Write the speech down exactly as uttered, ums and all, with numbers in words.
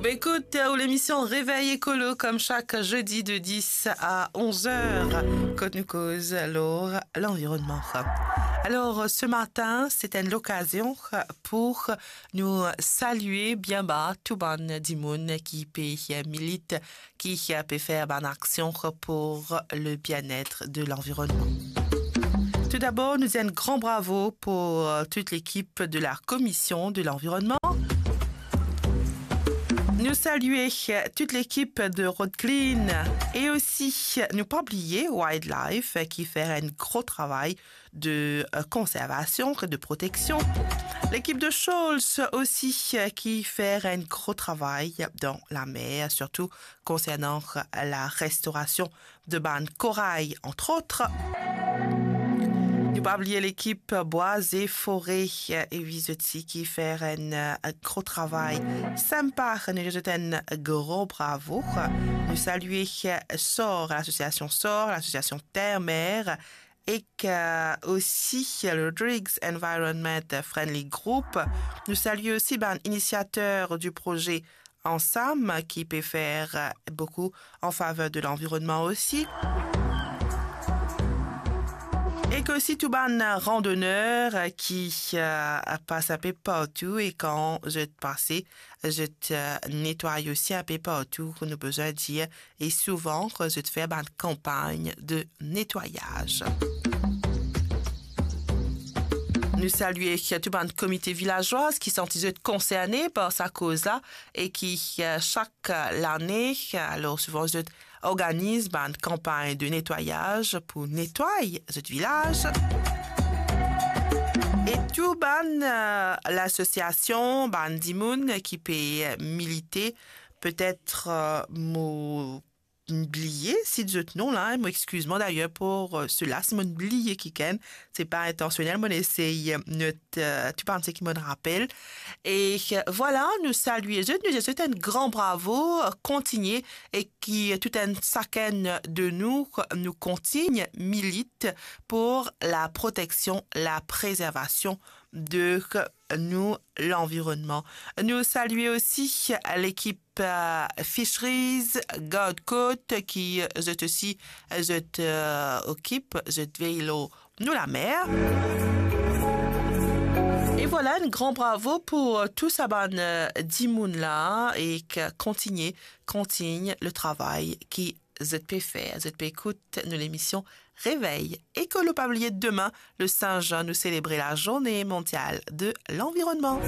Ekout, euh, lemision Réveil Écolo, kom sak zedi de dis a onz er, kot nou koz lor lanvironnman. Alor, euh, se matin, se enn lokazion pou nou salie bien ba tou bann dimoun ki pe, euh, milit, ki, euh, pe fer bann aksion pou le bien-être de lanvironnman. Toudabor, nou dir enn gran bravo pou, euh, tout lekip de la Komision de Lanvironnman. Nou salie, euh, tout lekip de Road Clean e osi, euh, nou pa bliye Wildlife, euh, ki fer enn gro travay de, euh, konservasion e de proteksion. Lekip de Shoals osi, euh, ki fer enn gro travay dan lamer, sirtou konsernan la restorasion de bann koray, antrot. Nou pa bliye lekip Bwa e Fore, euh, e wi zot osi ki fer enn, euh, gro travay sinpa. Nou dir zot enn gro bravo. Nou salie, euh, SOR, lasosiasion SOR, lasosiasion Terre-Mer, ek, euh, osi le Rodrigues Environment Friendly Group. Nou salie osi bann inisiater di proze Ansam, ki pe fer, euh, boukou an faver de lanvironnman osi. Ek osi tou bann randoner ki, euh, pas inpe partou e kan zot pase, zot, euh, netway osi inpe partou, ki nou bizin dir, e souvan ki zot fer bann kanpagn de netwayaz. Nou salie tou bann komite vilazwa ki santi zot konserne par sa koz la e ki, euh, sak lane, alor souvan zot organiz bann kanpagn de netwayaz pou netway zot vilaz. E tou bann, euh, lasosiasion, bann dimoun ki pe milite, petet, euh, mo bliye sit zot non la, mo exkiz mwa dayer pou, euh, sela, si mo'nn bliye kikenn, se pa intansionel, mo'nn esey, euh, not, euh, tou bann seki mo'nn rapel. E, euh, vwala, nou salie zot, nou dir zot enn gran bravo, euh, kontigne, e ki tou enn sakenn de nou, nou kontigne milit pou la proteksion, la prezervasion de nou lanvironnman. Nou salie osi lekip, euh, Fisheries, Gard Kot, ki zot osi, zot, euh, okip, zot vey lor nou lamer. E vwala, enn gran bravo pou, euh, tou sa bann, euh, dimoun la e ki kontigne, kontigne le travay ki zot pe fer, zot pe ekout nou lemision Réveil Écolo. Pa bliye demin, le sin zan, nou selebre la Journée Mondiale de l'Environnement.